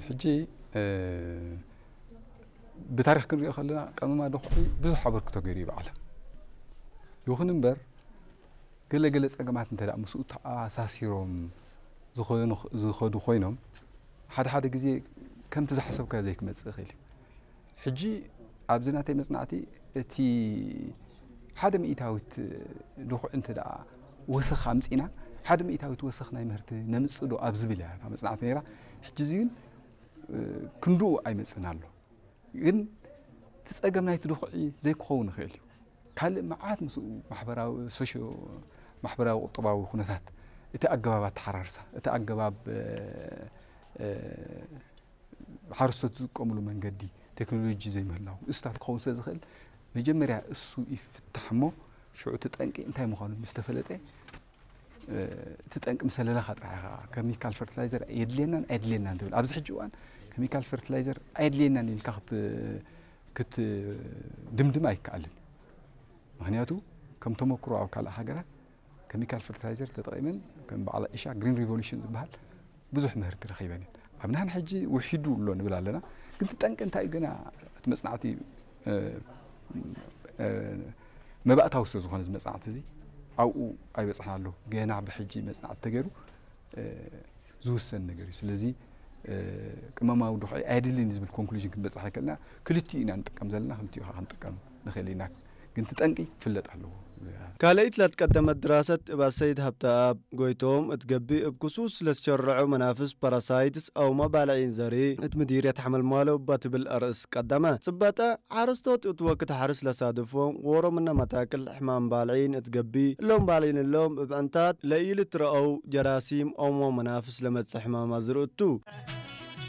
ሕጂ ብታሪኽ ክንሪኦ ከለና ቀመማ ድኹዒ ብዙሕ ኣበርክቶ ገይሩ እዩ በዓል። ይኹን እምበር ገለ ገለ ጸገማት እንተ ደኣ ምስኡ ተኣሳሲሮም ዝኾኑ ዝኸዱ ኮይኖም ሓደ ሓደ ግዜ ከምቲ ዝሓሰብካዮ ዘይክመጽእ ይኽእል እዩ። ሕጂ ኣብዚ ናተይ መጽናዕቲ እቲ ሓደ ሚእታዊት ድኹዒ እንተ ደኣ ወሰኽ ኣምጺና ሓደ ሚእታዊት ወሰኽ ናይ ምህርቲ ነምጽእ ዶ ኣብ ዝብል እያ እታ መጽናዕቲ ነይራ። ሕጂ እዚ ግን ክንድኡ ኣይመጽእን ኣሎ። ግን እቲ ጸገም ናይቲ ድኹዒ ዘይክኸውን ይኽእል እዩ። ካልእ መዓት ምስኡ ማሕበራዊ ሶሽዮ ማሕበራዊ ቁጠባዊ ኩነታት እቲ ኣገባብ ኣተሓራርሳ እቲ ኣገባብ ሓረስቶት ዝጥቀምሉ መንገዲ ቴክኖሎጂ ዘይምህላው እሱታት ክኸውን ስለ ዝኽእል መጀመርያ እሱ ይፍታሕ እሞ ሽዑ እቲ ጠንቂ እንታይ ምዃኑ ምስ ተፈለጠ እቲ ጠንቂ ምስ ኣለለኻ ጥራሕ ኢኻ ኬሚካል ፈርቲላይዘር የድልየናን ኣየድልየናን ትብል። ኣብዚ ሕጂ እዋን ኬሚካል ፈርቲላይዘር ኣየድልየናን ኢልካ ክትድምድም ኣይከኣልን። ምኽንያቱ ከም ተመክሮ ኣብ ካልእ ሃገራት ኬሚካል ፈርቲላይዘር ተጠቒመን ከም በዓል ኢሻ ግሪን ሪቮሉሽን ዝበሃል ብዙሕ ምህርቲ ረኺበን እየን። ኣብ ናህና ሕጂ ውሒዱ ኣሎ ንብል ኣለና። ግን እቲ ጠንቂ እንታይ እዩ ገና እቲ መጽናዕቲ መባእታዊ ስለ ዝኾነ እዚ መጽናዕቲ እዚ ኣብኡ ኣይበጽሕና ኣሎ። ገና ብሕጂ መጽናዕቲ ተገይሩ ዝውሰን ነገር እዩ። ስለዚ ቅመማዊ ድኹዒ ኣየድልን ዝብል ኮንክሉዥን ክንበጽሕ ኣይከልና። ክልቲኡ ኢና ንጥቀም ዘለና፣ ክልቲኡ ከዓ ክንጥቀም ንኽእል ኢና። ግን እቲ ጠንቂ ክፍለጥ ኣለዎ። ካልኣይት ላትቀደመት ድራሰት እባ ሰይድ ሃብተኣብ ጎይቶም እትገቢ እብ ክሱስ ስለዝሸርዑ መናፍስ ፓራሳይትስ ኣውማ ባልዒን ዘሪ እት ምዲርየት ሓመልማሎ እባ ትብል ኣርእስ ቀደመ ጽበጠ ሓረስቶት እት ወክት ሓርስ ለሳድፎም ወሮምነ መታክል ሕማም ባልዒን እትገቢ እሎም ባልዒን እሎም እብ ዕንታት ለኢልትረአው ጀራሲም ኣውማ መናፍስ ለመጽእ ሕማም ኣዝርእቱ